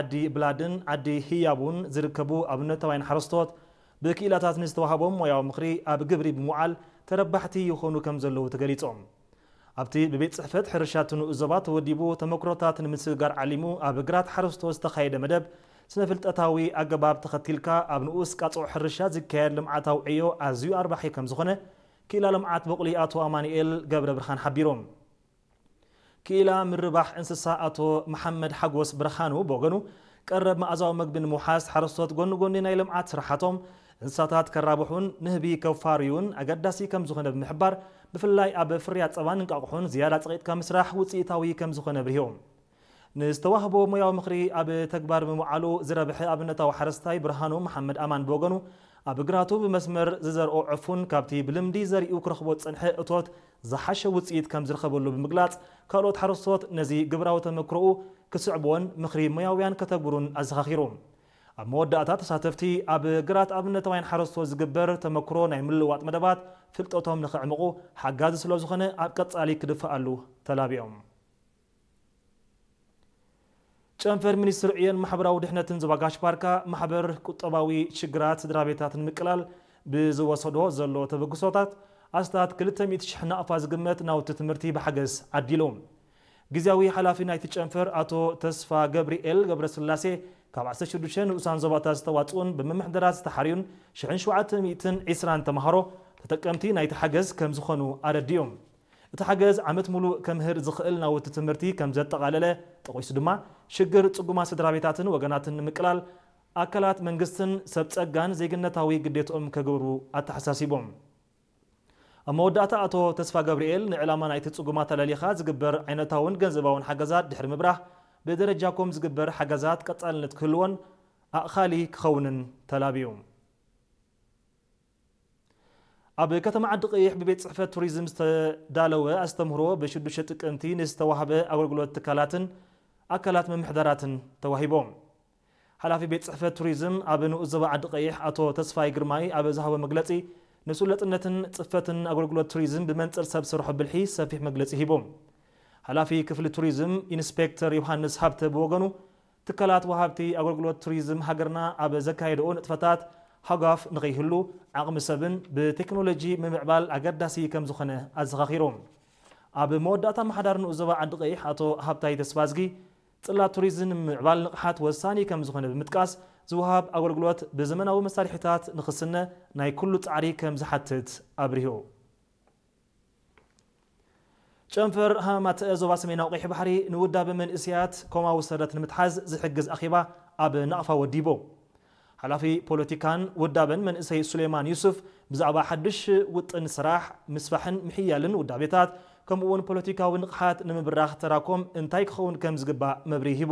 ዓዲ ብላድን ዓዲ ህያቡን ዝርከቡ ኣብነታውያን ሓረስቶት ብክኢላታት ንዝተዋህቦም ሞያዊ ምኽሪ ኣብ ግብሪ ብምውዓል ተረባሕቲ ይኾኑ ከም ዘለዉ ተገሊጾም። ኣብቲ ብቤት ጽሕፈት ሕርሻ እቲ ንኡስ ዞባ ተወዲቡ ተመክሮታት ንምስግጋር ዓሊሙ ኣብ ግራት ሓረስቶት ዝተኻየደ መደብ፣ ስነ ፍልጠታዊ ኣገባብ ተኸቲልካ ኣብ ንኡስ ቃጽዖ ሕርሻ ዝካየድ ልምዓታዊ ዕዮ ኣዝዩ ኣርባሒ ከም ዝኾነ ክኢላ ልምዓት በቑሊ ኣቶ ኣማኑኤል ገብረ ብርሃን ሓቢሮም። ክኢላ ምርባሕ እንስሳ ኣቶ መሓመድ ሓጎስ ብርሃኑ ብወገኑ፣ ቀረብ መኣዛዊ መግቢ ንምውሓስ ሓረስቶት ጎኒ ጎኒ ናይ ልምዓት ስራሓቶም እንስሳታት ከራብሑን ንህቢ ከፋርዩን ኣገዳሲ ከም ዝኾነ ብምሕባር፣ ብፍላይ ኣብ ፍርያት ጸባን እንቃቑሑን ዝያዳ ጸቒጥካ ምስራሕ ውጽኢታዊ ከም ዝኾነ ኣብሪሆም። ንዝተዋህቦ ሞያዊ ምኽሪ ኣብ ተግባር ብምውዓሉ ዝረብሐ ኣብነታዊ ሓረስታይ ብርሃኑ መሓመድ ኣማን ብወገኑ፣ ኣብ ግራቱ ብመስመር ዝዘርኦ ዕፉን ካብቲ ብልምዲ ዘሪኡ ክረኽቦ ዝጸንሐ እቶት ዝሓሸ ውጽኢት ከም ዝረኸበሉ ብምግላጽ፣ ካልኦት ሓረስቶት ነዚ ግብራዊ ተመክሮኡ ክስዕብዎን ምኽሪ ሞያውያን ከተግብሩን ኣዘኻኺሩ። ኣብ መወዳእታ ተሳተፍቲ ኣብ ግራት ኣብነታውያን ሓረስቶት ዝግበር ተመክሮ ናይ ምልውዋጥ መደባት ፍልጠቶም ንኸዕምቑ ሓጋዚ ስለ ዝኾነ ኣብ ቀጻሊ ክድፈኣሉ ተላቢኦም። ጨንፈር ሚኒስትሪ ዕዮን ማሕበራዊ ድሕነትን ዞባ ጋሽ ባርካ ማሕበር ቁጠባዊ ሽግራት ስድራ ቤታት ንምቅላል ብዝወሰዶ ዘሎ ተበግሶታት ኣስታት ክልተ ሚእቲ ሽሕ ናቕፋ ዝግመት ናውቲ ትምህርቲ ብሓገዝ ዓዲሉ። ግዝያዊ ሓላፊ ናይቲ ጨንፈር ኣቶ ተስፋ ገብርኤል ገብረስላሴ ካብ ዓሰርተ ሽዱሽተ ንኡሳን ዞባታት ዝተዋጽኡን ብምምሕዳራት ዝተሓርዩን ሽሕን ሸውዓተ ሚእትን ዕስራን ተምሃሮ ተጠቀምቲ ናይቲ ሓገዝ ከም ዝኾኑ ኣረዲኡ። እቲ ሓገዝ ዓመት ሙሉእ ከምህር ዝኽእል ናውቲ ትምህርቲ ከም ዘጠቓለለ ጠቒሱ ድማ፣ ሽግር ጽጉማት ስድራ ቤታትን ወገናትን ንምቅላል ኣካላት መንግስትን ሰብ ጸጋን ዜግነታዊ ግዴትኦም ከገብሩ ኣተሓሳሲቦም። ኣብ መወዳእታ ኣቶ ተስፋ ገብርኤል፣ ንዕላማ ናይቲ ጽጉማት ኣለሊኻ ዝግበር ዓይነታውን ገንዘባውን ሓገዛት ድሕሪ ምብራህ፣ ብደረጃኩም ዝግበር ሓገዛት ቀጻልነት ክህልዎን ኣእኻሊ ክኸውንን ተላብዩ። ኣብ ከተማ ዓዲ ቀይሕ ብቤት ጽሕፈት ቱሪዝም ዝተዳለወ ኣስተምህሮ ብሽዱሽተ ጥቅምቲ ንዝተዋህበ ኣገልግሎት ትካላትን ኣካላት ምምሕዳራትን ተዋሂቦም። ሓላፊ ቤት ጽሕፈት ቱሪዝም ኣብ ንኡስ ዞባ ዓዲ ቀይሕ ኣቶ ተስፋይ ግርማይ ኣብ ዝሃቦ መግለጺ፣ ንስሉጥነትን ጽፈትን ኣገልግሎት ቱሪዝም ብመንጽር ሰብ ሰርሖ ብልሒ ሰፊሕ መግለጺ ሂቦም። ሓላፊ ክፍሊ ቱሪዝም ኢንስፔክተር ዮሃንስ ሃብተ ብወገኑ፣ ትካላት ወሃብቲ ኣገልግሎት ቱሪዝም ሃገርና ኣብ ዘካየድኦ ንጥፈታት ሃጓፍ ንኸይህሉ ዓቕሚ ሰብን ብቴክኖሎጂ ምምዕባል ኣገዳሲ ከም ዝኾነ ኣዘኻኺሮም። ኣብ መወዳእታ ኣመሓዳሪ ንኡስ ዞባ ዓዲ ቀይሕ ኣቶ ሃብታይ ተስፋዝጊ፣ ጽላት ቱሪዝም ንምምዕባል ንቕሓት ወሳኒ ከም ዝኾነ ብምጥቃስ፣ ዝወሃብ ኣገልግሎት ብዘመናዊ መሳርሒታት ንኽስነ ናይ ኩሉ ጻዕሪ ከም ዝሓትት ኣብሪሁ። ጨንፈር ሃማማተ ዞባ ሰሜናዊ ቀይሕ ባሕሪ ንውዳበ መንእሰያት ኮማዊ ሰረት ንምትሓዝ ዝሕግዝ ኣኼባ ኣብ ናቕፋ ወዲቡ። ሓላፊ ፖለቲካን ውዳበን መንእሰይ ሱሌማን ዩሱፍ ብዛዕባ ሓድሽ ውጥን ስራሕ፣ ምስፋሕን ምሕያልን ውዳቤታት፣ ከምኡ'ውን ፖለቲካዊ ንቕሓት ንምብራኽ ተራኮም እንታይ ክኸውን ከም ዝግባእ መብርሂ ሂቡ።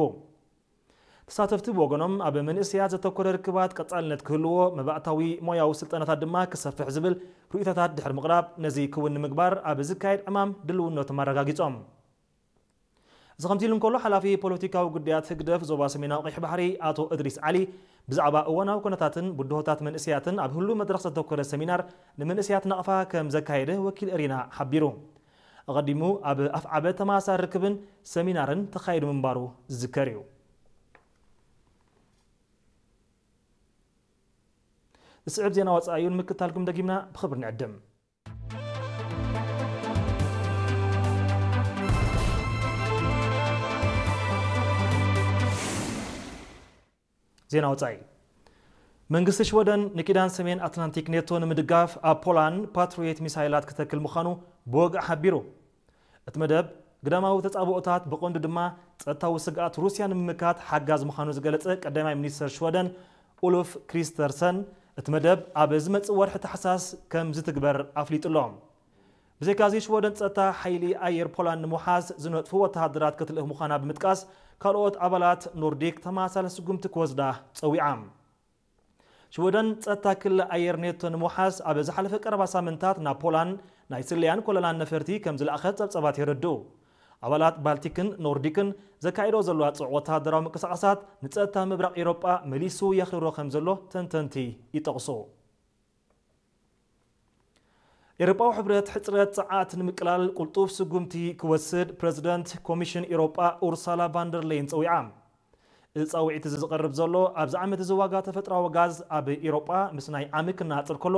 ተሳተፍቲ ብወገኖም፣ ኣብ መንእሰያት ዘተኮረ ርክባት ቀጻልነት ክህልዎ፣ መባእታዊ ሞያዊ ስልጠናታት ድማ ክሰፍሕ ዝብል ርእይቶታት ድሕሪ ምቕራብ፣ ነዚ ክውን ንምግባር ኣብ ዝካየድ ዕማም ድልውነቶም ኣረጋጊጾም። እዚ ከምዚ ኢሉ እንከሎ፣ ሓላፊ ፖለቲካዊ ጉዳያት ህግደፍ ዞባ ሰሜናዊ ቀይሕ ባሕሪ ኣቶ እድሪስ ዓሊ ብዛዕባ እዋናዊ ኩነታትን ብድሆታት መንእሰያትን ኣብ ህሉው መድረኽ ዘተኮረ ሰሚናር ንመንእሰያት ናቕፋ ከም ዘካየደ ወኪል ኤሪና ሓቢሩ። ኣቐዲሙ ኣብ ኣፍዓበት ተመሳሳሊ ርክብን ሰሚናርን ተኻይዱ ምንባሩ ዝዝከር እዩ። ዝስዕብ ዜና ወጻኢ እዩ፣ ንምክትታልኩም ደጊምና ብኽብሪ ንዕድም። ዜና ወጻኢ። መንግስቲ ሽወደን ንኪዳን ሰሜን ኣትላንቲክ ኔቶ ንምድጋፍ ኣብ ፖላንድ ፓትሪዮት ሚሳይላት ክተክል ምዃኑ ብወግዒ ሓቢሩ። እቲ መደብ ግዳማዊ ተጻብኦታት ብቐንዱ ድማ ጸጥታዊ ስግኣት ሩስያ ንምምካት ሓጋዝ ምዃኑ ዝገለጸ ቀዳማይ ሚኒስተር ሽወደን ኡሉፍ ክሪስተርሰን፣ እቲ መደብ ኣብ ዝመጽእ ወርሒ ታሕሳስ ከም ዝትግበር ኣፍሊጡ ኣሎ። ብዘይካዚ ሽወደን ጸጥታ ሓይሊ ኣየር ፖላንድ ንምውሓስ ዝነጥፉ ወተሃደራት ክትልእኽ ምዃና ብምጥቃስ፣ ካልኦት ኣባላት ኖርዲክ ተመሳሳሊ ስጉምቲ ክወስዳ ጸዊዓ። ሽወደን ጸጥታ ክሊ ኣየር ኔቶ ንምውሓስ ኣብ ዝሓለፈ ቀረባ ሳምንታት ናብ ፖላንድ ናይ ስለያን ኮለላን ነፈርቲ ከም ዝለኣኸት ጸብጸባት የረድኡ። ኣባላት ባልቲክን ኖርዲክን ዘካይዶ ዘለዋ ጽዑቕ ወተሃደራዊ ምንቅስቓሳት ንጸጥታ ምብራቕ ኤውሮጳ መሊሱ የኽርሮ ከም ዘሎ ተንተንቲ ይጠቕሱ። ኤውሮጳዊ ሕብረት ሕጽረት ጸዓት ንምቅላል ቅልጡፍ ስጉምቲ ክወስድ ፕረዚደንት ኮሚሽን ኤውሮጳ ኡርሳላ ቫንደርሌይን ጸዊዓ። እዚ ጻውዒት እዚ ዝቐርብ ዘሎ ኣብዚ ዓመት እዚ ዋጋ ተፈጥሮኣዊ ጋዝ ኣብ ኤውሮጳ ምስ ናይ ዓሚ ክነጻጸር ከሎ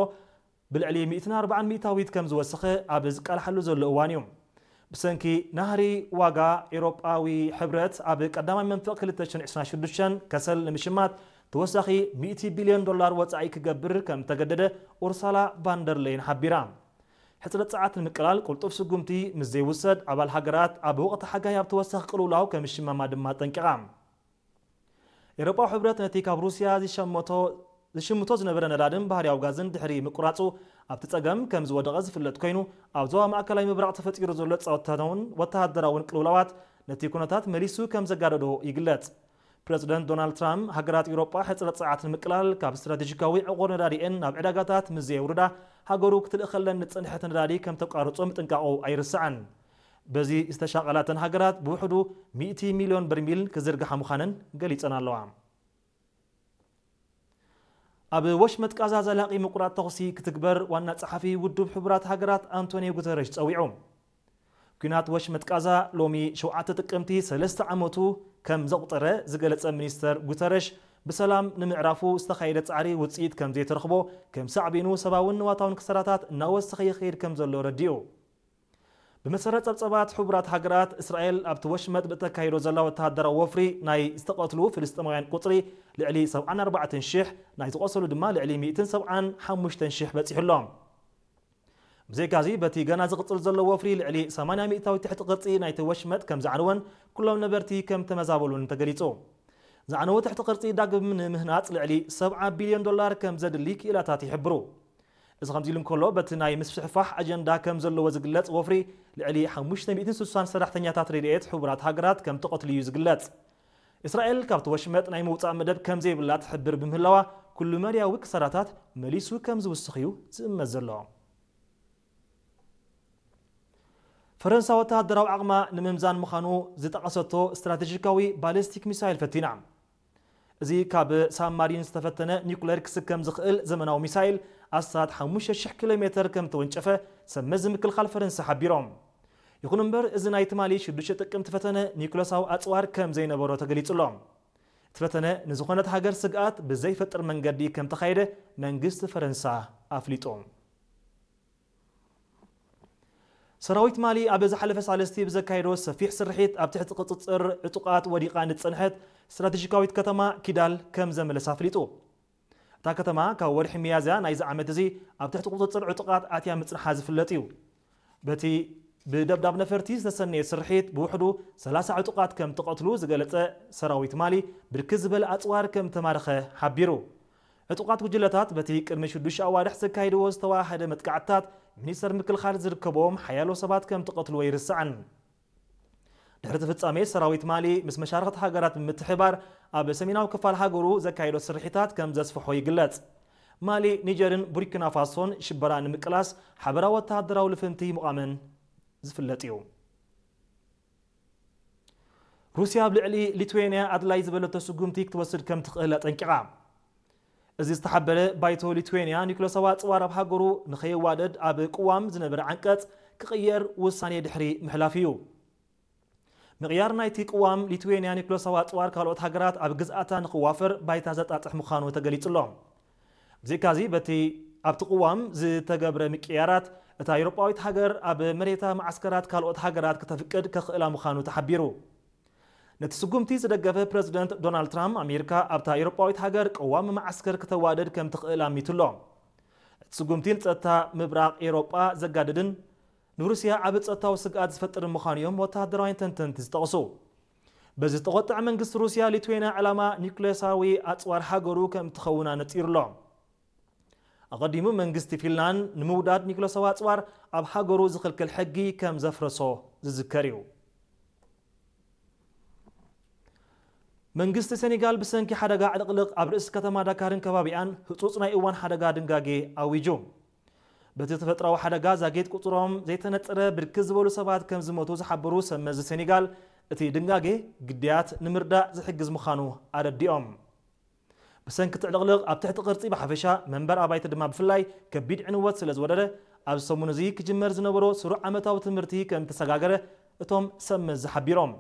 ብልዕሊ ሚእትን ኣርባዓን ሚእታዊት ከም ዝወሰኸ ኣብ ዝቃልሓሉ ዘሎ እዋን እዩ። ብሰንኪ ናህሪ ዋጋ ኤውሮጳዊ ሕብረት ኣብ ቀዳማይ መንፈቕ ክልተ ሽሕን ዕስራን ሽዱሽተን ከሰል ንምሽማት ተወሳኺ ሚእቲ ቢልዮን ዶላር ወጻኢ ክገብር ከም ተገደደ ኡርሳላ ቫንደርለይን ሓቢራ። ሕጽረት ጸዓት ንምቅላል ቅልጡፍ ስጉምቲ ምስ ዘይውሰድ ኣባል ሃገራት ኣብ ወቕቲ ሓጋይ ኣብ ተወሳኺ ቅልውላው ከም ዝሽመማ ድማ ኣጠንቂቓ። ኤውሮጳዊ ሕብረት ነቲ ካብ ሩስያ ዝሸመቶ ዝሽምቶ ዝነበረ ነዳድን ባህርያዊ ጋዝን ድሕሪ ምቁራጹ ኣብቲ ጸገም ከም ዝወደቐ ዝፍለጥ ኮይኑ፣ ኣብ ዞባ ማእከላይ ምብራቕ ተፈጢሩ ዘሎ ጸጥታውን ወተሃደራውን ቅልውላዋት ነቲ ኩነታት መሊሱ ከም ዘጋደዶ ይግለጽ። ፕረዚደንት ዶናልድ ትራምፕ ሃገራት ኤውሮጳ ሕጽረት ጸዓት ንምቅላል ካብ ስትራቴጂካዊ ዕቑር ነዳዲኤን ናብ ዕዳጋታት ምስ ዘየውርዳ ሃገሩ ክትልእኸለን ዝጸንሐት ነዳዲ ከም ተቋርጾ ምጥንቃቑ ኣይርሳዕን። በዚ ዝተሻቐላተን ሃገራት ብውሕዱ ሚእቲ ሚልዮን በርሚል ክዝርግሓ ምዃነን ገሊጸን ኣለዋ። ኣብ ወሽመጥ ቃዛ ዘላቒ ምቁራጥ ተኹሲ ክትግበር ዋና ጸሓፊ ውድብ ሕቡራት ሃገራት ኣንቶኒዮ ጉተረሽ ጸዊዑ። ኲናት ወሽመጥ ቃዛ ሎሚ ሸውዓተ ጥቅምቲ ሰለስተ ዓመቱ ከም ዘቑጸረ ዝገለጸ ሚኒስተር ጉተረሽ፣ ብሰላም ንምዕራፉ ዝተኻየደ ጻዕሪ ውጽኢት ከም ዘይተረኽቦ ከም ሳዕቤኑ ሰብኣውን ንዋታውን ክሳራታት እናወሰኸ ይኸይድ ከም ዘሎ ረዲኡ። ብመሰረት ጸብጸባት ሕቡራት ሃገራት፣ እስራኤል ኣብቲ ወሽመጥ ብእተካይዶ ዘላ ወተሃደራዊ ወፍሪ ናይ ዝተቐትሉ ፍልስጤማውያን ቁጽሪ ልዕሊ ሰብዓን ኣርባዕተን ሽሕ፣ ናይ ዝቖሰሉ ድማ ልዕሊ ሚእትን ሰብዓን ሓሙሽተን ሽሕ በጺሑ ኣሎ። ብዘይካዚ በቲ ገና ዝቕጽል ዘሎ ወፍሪ ልዕሊ ሰማንያ ሚእታዊት ትሕቲ ቅርጺ ናይቲ ወሽመጥ ከም ዝዓነወን ኩሎም ነበርቲ ከም ተመዛበሉን ተገሊጹ። ዝዓነወ ትሕቲ ቅርጺ ዳግም ንምህናጽ ልዕሊ ሰብዓ ቢልዮን ዶላር ከም ዘድሊ ክኢላታት ይሕብሩ። እዚ ከምዚ ኢሉ እንከሎ፣ በቲ ናይ ምስፍሕፋሕ ኣጀንዳ ከም ዘለዎ ዝግለጽ ወፍሪ ልዕሊ ሓሙሽተ ሚእትን ስሳን ሰራሕተኛታት ረድኤት ሕቡራት ሃገራት ከም ተቐትሉ እዩ ዝግለጽ። እስራኤል ካብቲ ወሽመጥ ናይ ምውጻእ መደብ ከም ዘይብላ ትሕብር ብምህላዋ፣ ኩሉ መድያዊ ክሳራታት መሊሱ ከም ዝውስኽ እዩ ዝእመት ዘሎ። ፈረንሳ ወተሃደራዊ ዓቕማ ንምምዛን ምዃኑ ዝጠቐሰቶ ስትራቴጂካዊ ባሊስቲክ ሚሳይል ፈቲና። እዚ ካብ ሳብማሪን ዝተፈተነ ኒኩሌር ክስከም ዝኽእል ዘመናዊ ሚሳይል ኣስታት ሓሙሽተ ሽሕ ኪሎ ሜተር ከም ተወንጨፈ ሰብ መዚ ምክልኻል ፈረንሳ ሓቢሮም። ይኹን እምበር፣ እዚ ናይ ትማሊ ሽዱሽተ ጥቅምቲ ፈተነ ኒኩለሳዊ ኣጽዋር ከም ዘይነበሮ ተገሊጹ ኣሎ። እቲ ፈተነ ንዝኾነት ሃገር ስግኣት ብዘይፈጥር መንገዲ ከም ተኻየደ መንግስቲ ፈረንሳ ኣፍሊጡ። ሰራዊት ማሊ ኣብ ዝሓለፈ ሳልስቲ ብዘካየዶ ሰፊሕ ስርሒት ኣብ ትሕቲ ቁጽጽር ዕጡቓት ወዲቓ ንዝጸንሐት ስትራቴጂካዊት ከተማ ኪዳል ከም ዘመለሳ ኣፍሊጡ። እታ ከተማ ካብ ወርሒ ሚያዝያ ናይዚ ዓመት እዚ ኣብ ትሕቲ ቁጽጽር ዕጡቓት ኣትያ ምጽንሓ ዝፍለጥ እዩ። በቲ ብደብዳብ ነፈርቲ ዝተሰነየ ስርሒት ብውሕዱ ሰላሳ ዕጡቓት ከም ተቐትሉ ዝገለጸ ሰራዊት ማሊ፣ ብርክት ዝበለ ኣጽዋር ከም ተማረኸ ሓቢሩ። ዕጡቓት ጉጅለታት በቲ ቅድሚ ሽዱሽተ ኣዋርሕ ዘካይድዎ ዝተዋሃደ መጥቃዕትታት፣ ሚኒስተር ምክልኻል ዝርከቦም ሓያሎ ሰባት ከም ተቐትሉ ኣይርሳዕን። ድሕሪ እቲ ፍጻሜ፣ ሰራዊት ማሊ ምስ መሻርኽቲ ሃገራት ብምትሕብባር ኣብ ሰሜናዊ ክፋል ሃገሩ ዘካየዶ ስርሒታት ከም ዘስፍሖ ይግለጽ። ማሊ፣ ኒጀርን ቡርኪና ፋሶን ሽበራ ንምቅላስ ሓበራዊ ወተሃደራዊ ልፍንቲ ምቋመን ዝፍለጥ እዩ። ሩስያ ኣብ ልዕሊ ሊትዌንያ ኣድላይ ዝበለቶ ስጉምቲ ክትወስድ ከም ትኽእል ኣጠንቂቓ። እዚ ዝተሓበረ ባይቶ ሊትዌንያ ኒኩለሳዊ ኣጽዋር ኣብ ሃገሩ ንኸየዋደድ ኣብ ቅዋም ዝነበረ ዓንቀጽ ክቕየር ውሳኔ ድሕሪ ምሕላፍ እዩ። ምቕያር ናይቲ ቅዋም ሊትዌንያ ኒኩለሳዊ ኣጽዋር ካልኦት ሃገራት ኣብ ግዝኣታ ንኽዋፈር ባይታ ዘጣጥሕ ምዃኑ ተገሊጹ ኣሎ። ብዘይካዚ በቲ ኣብቲ ቅዋም ዝተገብረ ምቅያራት እታ ኤውሮጳዊት ሃገር ኣብ መሬታ መዓስከራት ካልኦት ሃገራት ክተፍቅድ ከኽእላ ምዃኑ ተሓቢሩ። ነቲ ስጉምቲ ዝደገፈ ፕረዚደንት ዶናልድ ትራምፕ፣ ኣሜሪካ ኣብታ ኤውሮጳዊት ሃገር ቅዋም መዓስከር ክተዋድድ ከም ትኽእል ኣሚቱ ኣሎ። እቲ ስጉምቲ ንጸጥታ ምብራቕ ኤውሮጳ ዘጋድድን ንሩስያ ዓቢ ጸጥታዊ ስግኣት ዝፈጥር ምዃኑ እዮም ወተሃደራውያን ተንተንቲ ዝጠቕሱ። በዚ ዝተቖጥዐ መንግስቲ ሩስያ፣ ሊትዌንያ ዕላማ ኒውክሌሳዊ ኣጽዋር ሃገሩ ከም ትኸውን ኣነጺሩ ኣሎ። ኣቐዲሙ መንግስቲ ፊንላንድ ንምውዳድ ኒውክሌሳዊ ኣጽዋር ኣብ ሃገሩ ዝኽልክል ሕጊ ከም ዘፍረሶ ዝዝከር እዩ። መንግስቲ ሴኔጋል ብሰንኪ ሓደጋ ዕልቕልቕ ኣብ ርእሲ ከተማ ዳካርን ከባቢኣን ህጹጽ ናይ እዋን ሓደጋ ድንጋጌ ኣዊጁ። በቲ ተፈጥሮኣዊ ሓደጋ ዛጊት ቁጽሮም ዘይተነጸረ ብርክት ዝበሉ ሰባት ከም ዝሞቱ ዝሓበሩ ሰብ መዚ ሴኔጋል፣ እቲ ድንጋጌ ግዳያት ንምርዳእ ዝሕግዝ ምዃኑ ኣረዲኦም። ብሰንኪ እቲ ዕልቕልቕ ኣብ ትሕቲ ቅርጺ ብሓፈሻ፣ መንበር ኣባይቲ ድማ ብፍላይ ከቢድ ዕንወት ስለ ዝወረደ፣ ኣብዚ ሰሙን እዚ ክጅመር ዝነበሮ ስሩዕ ዓመታዊ ትምህርቲ ከም ዝተሰጋገረ እቶም ሰብ መዚ ሓቢሮም።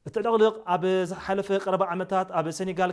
እቲ ዕልቕልቕ ኣብ ዝሓለፈ ቀረባ ዓመታት ኣብ ሰኔጋል